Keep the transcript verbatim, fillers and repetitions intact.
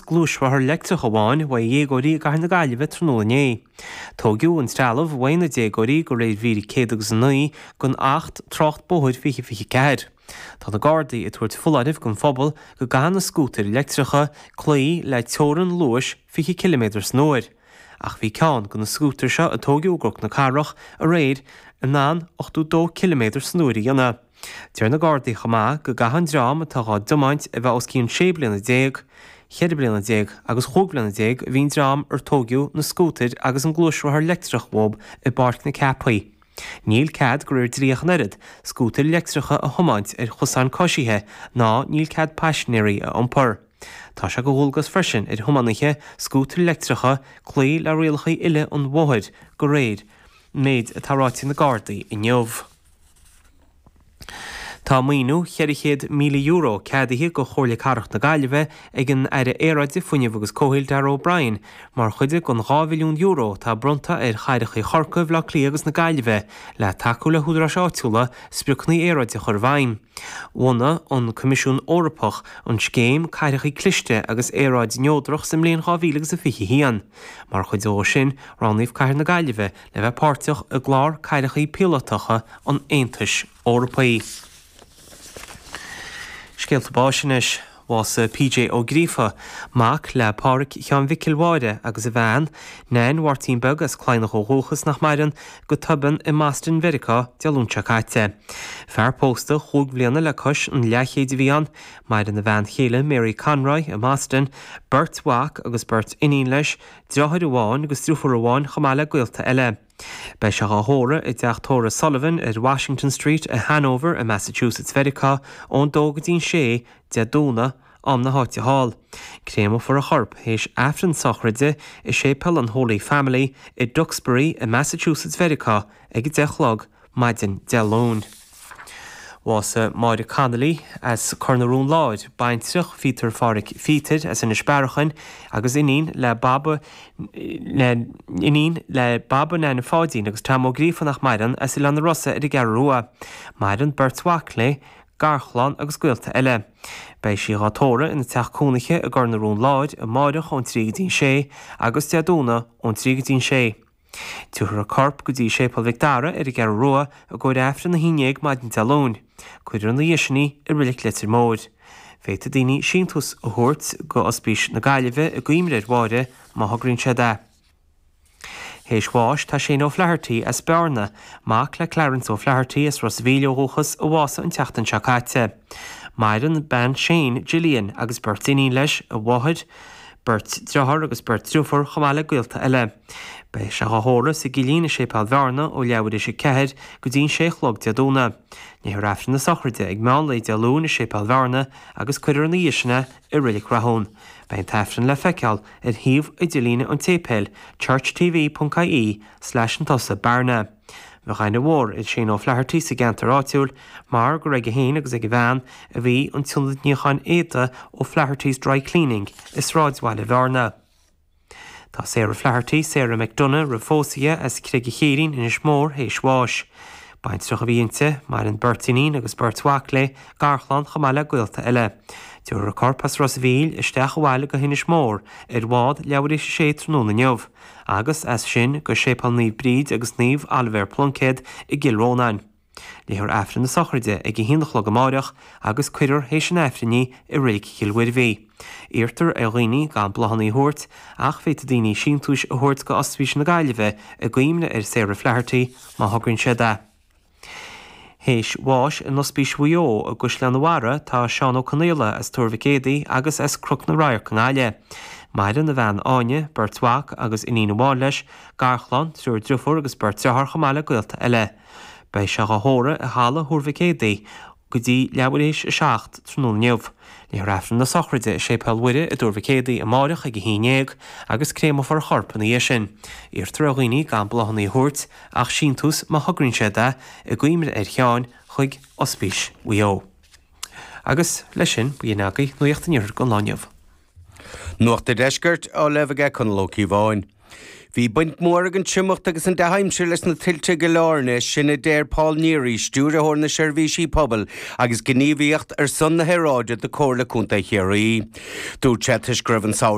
gluaisrothar leictreach amháin uaidh dhéagóirí i gCathair na Gaillimhe tráthnóna inné. Tóigeadh an trealamh uaidh na déagóirí de réir mhír céad agus a naoi den Acht Trácht Bóthair fiche fiche ceathair. Tá na Gardaí ag tabhairt foláirimh don phobal go gcaithfidh na scútair leictreacha cloí le teorainn luais fiche ciliméadar san uair. Ach bhí ceann de na scútair seo a tóigeadh i gCnoc na Cathrach aréir in ann ochtó dó ciliméadar san uair a dhéanamh. Deir na Gardaí chomh maith go gcaithfidh an dream atá á dtiomáint a bheith os cionn sé bliana déag, cheithre bliana déag agus chúig bliana déag a bhí an dream ar tóigeadh na scútair agus an gluaisrothar leictreach uathu i bPáirc na Ceapaí. Níl cead de réir dlí ach an oiread scútair leictreacha a thiomáint ar chosáin coisithe ná níl cead paisinéirí a iompar. Tá sé de dhualgas freisin ar thiománaithe scútair leictreacha cloí le rialacha uile an bhóthair de réir méid atá ráite ag na Gardaí inniu. Tá maoiniú cheithre chéad míle euro ceadaithe do Chomhairle Cathrach na Gaillimhe ag an Aire Aeráide, Fuinnimh agus Comhshaoil Darragh O'Brien mar chuid den dhá mhilliún euro atá bronnta ar chathracha Chorcaí, Bhaile Átha Cliath agus na Gaillimhe le tacú le húdaráis áitiúla spriocanna aeráide a chur i bhfeidhm. Bhunaigh an Coimisiún Eorpach an scéim Cathracha Cliste agus Aeráid Neodrach sa mbliain dhá mhíle agus a fiche haon. Mar chuid dó sin, roghnaíodh Cathair na Gaillimhe le bheith páirteach i gclár cathracha píolótacha an Aontais Eorpaigh. Scéalta báis anois. Bhásaigh P J Ó Gríofa, mac le Pádraic Sheáin Mhicil Mháire agus a bhean, Nain Mháirtín Beag as Cladhnach ó dhúchas nach maireann, go tobann i mBoston Mheiriceá Dé Luain seo caite. Fear pósta chúig bhliana le cois an leathchéid a bhí ann, maireann a bhean chéile Mary Conroy i mBoston, beirt mhac agus beirt iníon leis, deartháir amháin agus deirfiúr amháin chomh maith le gaolta eile. Beidh sé á thórramh i dteach tórraimh Sullivan ar Washington Street i Hanover i Massachusetts Mheiriceá ón dó go dtí an sé Dé Domhnaigh am na háite thall. Créamófar a chorp théis Aifreann sochraide i séipéal an Holy Family i Duxbury i Massachusetts Mheiriceá ag a deich a chlog maidin Dé Luain. Bhásaigh Máire Connolly as Cor na Rón Láir, baintreach Phíotair Phádraig Phíotair as Inis Bearachain agus iníon le Baba le iníon le Baba Nana Pháidín agus Tom Ó Gríofa nach maireann as Oileán na Rosa ar an gCeathrú Rua. Maireann beirt mhac léi, garchlann agus gaolta eile. Beidh sí á tórramh ina teach cónaithe i gCor na Rón Láir amárach ón trí go dtí an sé agus Dé Domhnaigh ón trí go dtí an sé. Tabharfar a corp go dtí Séipéal Mhic Dara ar an gCeathrú Rua i gcomhair Aifreann a haon déag maidin Dé Luain. Cuirfear ina dhiaidh sin í i Reilig Leitir Móir. Féadfaidh daoine síntiús a thabhairt go Ospís na Gaillimhe i gcuimhne ar Mháire má thograíonn siad é. Théis bháis tá Shane O'Flaherty as Bearna, mac le Clarence O'Flaherty as Ros an Mhíl ó dhúchas a bhásaigh an tseachtain seo caite. Maireann bean Shane, Gillian agus beirt iníon leis, a mháthair, beirt deartháir agus beirt deirfiúr chomh maith le gaolta eile. Beidh sé á thórramh sa gCillín i Séipéal Bhearna ó leathuair tar éis a ceathair go dtí an sé a chlog Dé Domhnaigh. Léifear Aifreann na sochraide ag meán lae Dé Luain i Séipéal Bhearna agus cuirfear ina dhiaidh sin é i Reilig Rathún. Beidh an t-aifreann le feiceáil ar shuíomh idirlíne an tséipéil churchtv.ie slash an tusa Bearna. Bheadh aithne mhór ar Shane O'Flaherty sa gceantar áitiúil mar gur aige féin agus ag a bhean a bhí an t-ionad níocháin éadaí O'Flaherty's Dry Cleaning i sráidbhaile Bhearna. Tá Sarah Flaherty, Sarah McDonough roimh phósadh as Creige Chéirín Inis Mór théis bháis. Baintreach a bhí inti, maireann beirt iníon agus beirt mhac léi, garchlann chomh maith le gaolta eile. Tabharfar a corp as Ros an Mhíl isteach abhaile go hInis Mór ar bhád leathuair tar éis a sé tráthnóna inniu, agus as sin go Séipéal Naomh Bríd agus Naomh Oilibhéar Pluincéad i gCill Rónáin. Léifear Aifreann na sochraide ag a haon a chlog amárach agus cuirfear théis an Aifrinn í i Reilig Chill Mhuirbhigh. Iarrtar ar dhaoine gan bláthanna a thabhairt ach féadfaidh daoine síntiúis a thabhairt go Ospís na Gaillimhe i gcuimhne ar Sarah Flaherty má thograíonn siad é. Théis bháis in Ospís Mhaigh Eo i gCaisleán an Bharraigh tá Seán Ó Conaola as Tuar Mhic Éadaigh agus as Cnoc na Radharc i nGaillimh. Maireann a bhean Áine, beirt mhac agus iníon amháin leis, garchlann, triúr deirfiúr agus beirt deartháir chomh maith le gaolta eile. Beidh sé á thórramh i halla Thuar Mhic Éadaigh go dtí leathuair tar éis a seacht tráthnóna inniu. Léifear Aifreann na sochraide i Séipéal Mhuire i dTuar Mhic Éadaigh amárach ag a haon déag agus créamófar a chorp ina dhiaidh sin. Iarrtar ar dhaoine gan bláthanna a thabhairt ach síntiús má thograíonn siad é i gcuimhne ar Sheán chuig Ospís Mhaigh Eo. Agus leis sin b'in agaibh nuacht an iarthair don lá inniu. Nuacht an Deiscirt á léamh aige Conall Ó Cíobháin. Bhí baint mhór ag an triomacht agus an dea-aimsir leis na tuilte go leor sin a deir Paul Neary, stiúrthóir na seirbhísí pobail agus gníomhaíocht ar son na haeráide do Chomhairle Contae Chiarraí. Dúirt sé toisc go raibh an